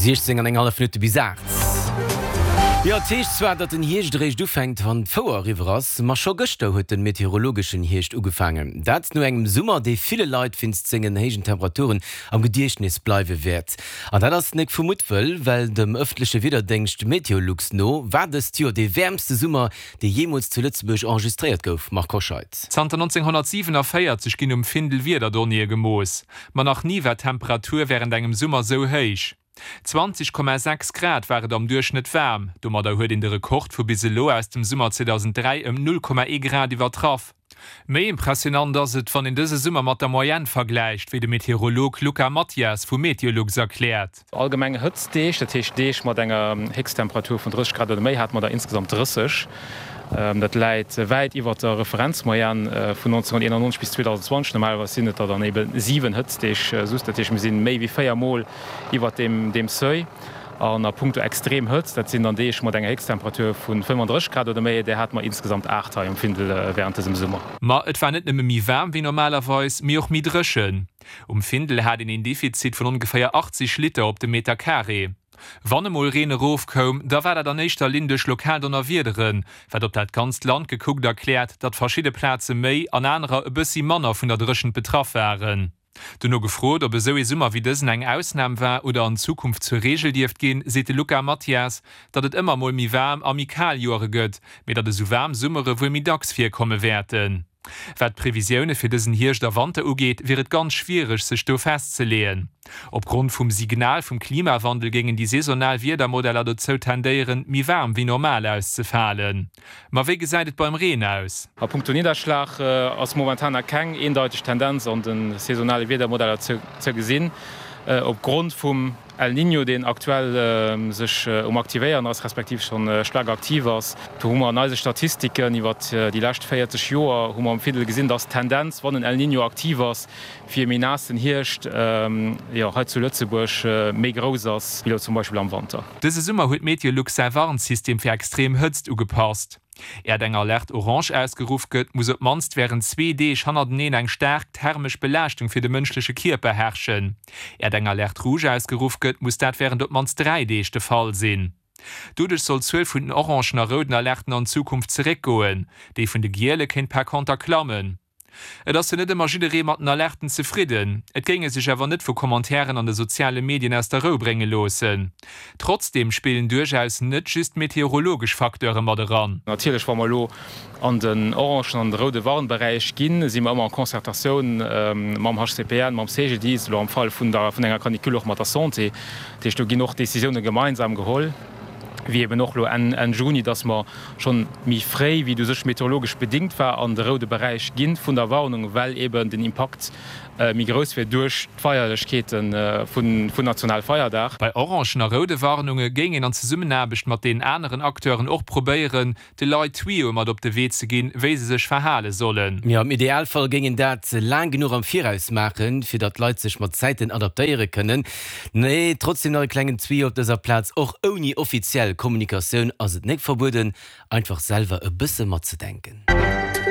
16 an eng hallef Minutte bis 8. Jo, et heescht zwar, datt den Hierscht eréischt ufänkt, wann d'Fouer eriwwer ass, ma scho gëschter huet de meteorologeschen Hierscht ugefaangen. Dat no engem Summer, dee ville Leit wéinst sengen héijen Temperaturen am Gediechtnes bleiwe wäert. An dat ass nek vu Muttwëll, well dem ëffentleche Wiederdéngscht Meteolux no war dëst Joer dee wäermste Summer, dee jeemools zu Lëtzebuerg enregistréiert gouf. Marc Hoscheid. Zanter 1947 ginn um Findel Wiederdonnéeë gemooss, ma nach ni war d'Temperatur wärend engem Summer sou héich. 20,6 Grad war et am Duerchschnëtt waarm, domadder huet een de Rekord vu bis elo aus dem Summer 2003 ëm 0,1 Grad iwwertraff. Méi impressionant ass et, wann een dëse Summer mat der Moyenne vergläicht, wéi de Meteorolog Luca Mathias vu Meteolux erkläert. Allgemeng Hëtztdeeg, dat heescht Deeg mat enger Héchsttemperatur vun 30 Grad oder méi, hate mer der insgesamt 30. Dat läit wäit iwwert der Referenzmoyenne vun 1991 bis 2020. Normalerweis sinn et der dann ebe 7 Hëtztdeeg just, dat heescht mir si méi wéi 4 Mol iwwert deem Seuil. An a punkto extrem Hëtzt, dat sinn dann Deeg mat enger Héchsttemperatur vu 35 Grad oder méi, där hate mer insgesamt 8 hei um Findel wärend dësem Summer. Ma et war net nëmme méi waarm wéi normalerweis, mee och méi dréchen. Um Findel hat een een Defizit vun ongeféier 80 Liter op de Meter Carré. Wann emol Reen erofkoum, da war dat an éischter Linn duerch lokal Donnerwiederen, wat op dat ganzt Land gekuckt erkläert, datt verschidde Plaze méi an anerer e bëssi manner vun der Dréchent betraff waren. Dono gefrot, ob esou ee Summer wéi dësen eng Ausnam war oder an Zukunft zur Reegel dierft ginn, seet de Luca Mathias, datt et ëmmer mol méi waarm a méi kal Joere gëtt, mee datt esou waarm Summere wuel méi dacks virkomme wäerten. Wat d'Previsioune fir dësen Hierscht a Wanter ugeet, wier et ganz schwiereg, sech do festzeleeën. Opgrond vum Signal vum Klimawandel géingen déi saisonal Wiedermodeller dozou tendéieren, méi waarm wéi normal auszefalen. Ma wéi gesäit et beim Reen aus? A punkto Nidderschlag ass momentan nach keng eendeiteg Tendenz an de saisonale Wiedermodeller ze gesinn. Opgrond vum El Niño, deen aktuell sech um aktivéieren ass, respektiv schonn staark aktiv ass, do hu mer an eise Statistiken iwwert déi lescht 40 Joer hu mer am Findel gesinn, dass d'Tendenz, wann en El Niño aktiv ass, fir e méi naassen Hierscht, jo hei zu Lëtzebuerg méi grouss ass, wéi elo zum Beispill am Wanter. Dëse Summer huet Meteolux säi Warnsystem fir extrem Hëtzt ugepasst. Äert eng Alerte orange ausgeruff gëtt, muss op d'mannst wärend zwee Deeg hannerteneen eng staark thermesch Belaaschtung fir de mënschleche Kierper herrschen. Äert eng Alerte rouge ausgeruff gëtt, muss dat wärend op d'mannst 3 Deeg de Fall sinn. Doduerch soll d'Zuel vun den orangen a rouden Alerten an Zukunft zeréckgoen, déi vun de giele kéint par conter klammen. Et ass jo net ëmmer jidderee mat den Alerten zefridden. Et géing e sech awer net vu Commentairen an de soziale Medien aus der Rou brénge loossen. Trotzdeem spillen duerchaus net just meteorologesch Facteure mat eran. Natierlech, wa mer elo an den orangen an de roude Warnberäich ginn, si mer ëmmer en Concertatioun mam HCPN, mam CGDIS, elo am Fall vun enger Canicule och mat der Santé. Dat heescht, do ginn och Decisioune gemeinsam geholl. wéi eben och elo Enn Juni, dass mer schonn méi fréi, wéi et u sech meteorologesch bedingt war, an de roude Beräich gi vun der Warnung, well eben den Impakt méi grouss wier duerch d'Feierlechkeete vun Nationalfeierdag. Bei orangen a roude Warnunge géing een an Zesummenaarbecht mat deenen aneren Acteuren och probéieren, de Leit Tuyauë mat op de Wee ze ginn, wéi se sech verhale sollen. Jo, am Idealfall géing een dat laang genuch am Viraus maachen, fir datt d'Leit sech mat Zäiten adaptéiere kënnen. Nee, trotzdem nach e klengen Tuyau op dëser Plaz, Och ouni offiziell Kommunikatioun ass et nek verbueden, einfach selwer e bësse matzedenken.